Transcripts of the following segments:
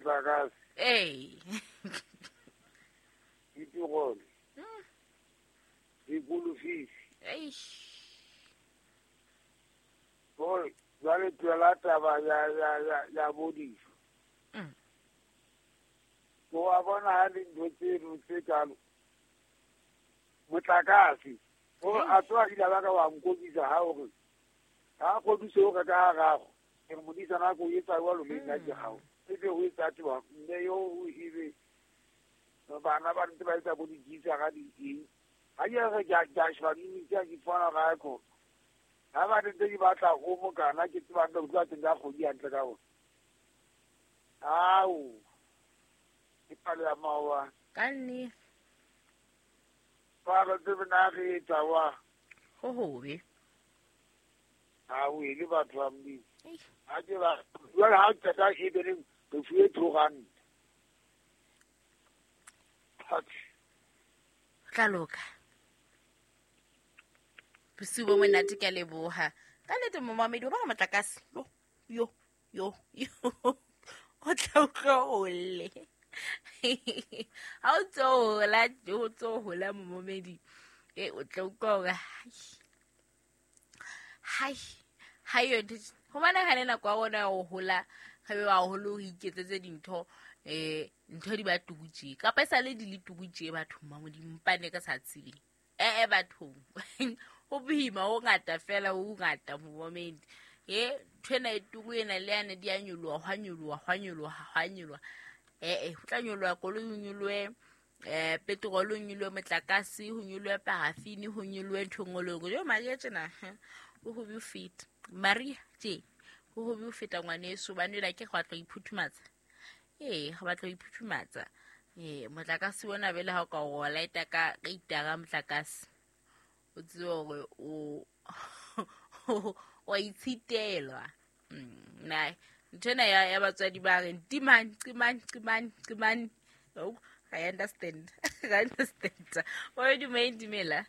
Motlakase. Ee. Ditirolo. Dikolofisi. Eish. Gore jwale tlohela taba ya bodiso. O a bona ha le ntho tseno tse kalo. Motlakase. Gore a tswa ile ba ka wa nkobisa ha hore ha kgodiso o ka ka gago. Ke re modisa nako e etsa jwalo le nna ke gago. E be ho etsa twa mme yo o ebe bana ba ntse ba etsa bo dijisa ga di eng. Ha ke re ke a sheba di ke ke fana ga ko. Ha ba ntse di batla o mokana ke tseba nka utlwa teng ka kgodi hantle ka bona. Ao. Ke palo ya mawa. Ka nne. Palo tse bana re etsa wa. Ho hobe. Ha o ile batho ba Modimo. Ha ke ba jwale ha o qeta e be le re fuwe 2 rand. Tla loka. Bosiu bo monate, ke a leboha. Ka nnete momamedi o bona motlakase. Yo yo yo yo. O tla utlwa o lle. Ha o tso hola, o tso hola momamedi. E o tla utlwa hore hai hai yo ntho ho bana ha le nako ya rona ya ho hola re be baholo ho iketsetse dintho ntho di ba tukutse kapa e sale di le tukutse bathong ba Modimo mpane ka sa tsebeng ee bathong ho boima ho ngata fela ho ngata momamedi e ntho ena e tuku ena le yane di a nyoloha hwa nyoloha hwa nyoloha hwa nyoloha ee ho tla nyoloha koloi ho nyolohe petrol ho nyolohe motlakase ho nyolohe parafini ho nyolohe ntho e nngwe le e nngwe. Jo Maria tjena ho hobe ho feta Maria tje ho hobe ho feta ngwaneso hobane jwale akere re batla ho iphuthumatsa. Ee re batla ho iphuthumatsa. Ee motlakase ona bele ha o ka o lighta ka itara motlakase o tsebe hore o wa itshitelwa. Na ntho ena ya batswadi ba reng timang timang timang timang. Oh, I understand. I understand. O dumela dumela.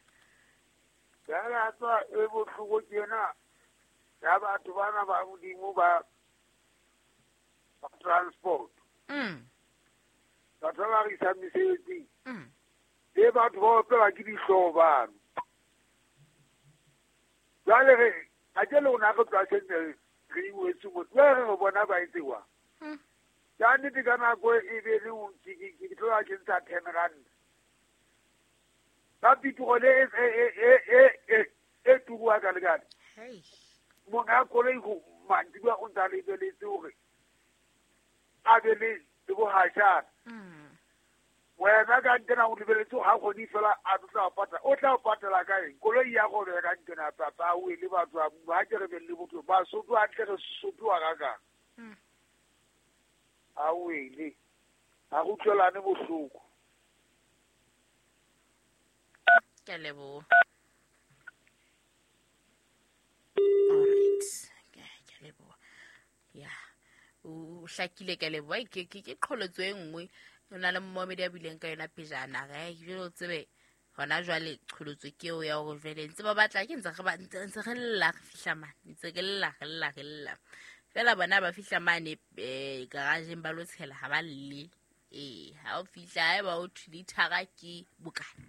Jwale tswa e bohloko ke yena ya batho bana ba Modimo ba transport. Batho ba re isang mesebetsing. Le batho ba opelwa ke dihlooho bano. Jwale re ha ke le rona re tloha Sendle re iwetse mo. Jwale re bona ba etse wa. Ka nnete ka nako e be le o ke tloha ke ntsha 10 rand. Ka petrol e turuwa ka lekane. Hey. Monga koloi go mantsibuya o ntsa lebeletse hore a be le bohashana. Wena ka ntena o lebeletse ha kgone fela a tla patala. O tla patala ka eng? Koloi ya go ka ntena papa o ile batho ba ke re be le botho ba sotho a tle re sotho ga ka. A o ile. Ha go tlolane bohloko. Ke a leboha. All right. Ke a leboha. Ya. O hlakile ke a leboha. Ke qholotso e nngwe o na le momamedi a buileng ka yona pejana. Re jwale o tsebe hona jwale qholotso ke eo ya hore jwale ntse ba batla ke ntse re ba ntse re lla re fihla mane ntse re lla re lla re lla fela bona ba fihla mane garageng ba lo tshela ha ba lle. Ee ha o fihla haeba o thwe lithara ke bokana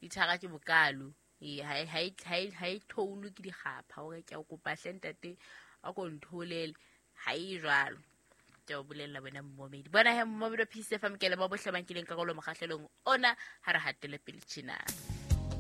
lithara ke bokalo. Ee ha e theolwe ke dikgapha hore ke a kopa hle ntate a ko ntholele ha e jwalo. Ke o bolella wena momamedi. Bona he momamedi wa Peace FM ke le ba bohle ba nkileng karolo mokgahlelong ona ha re hatele pele tjena.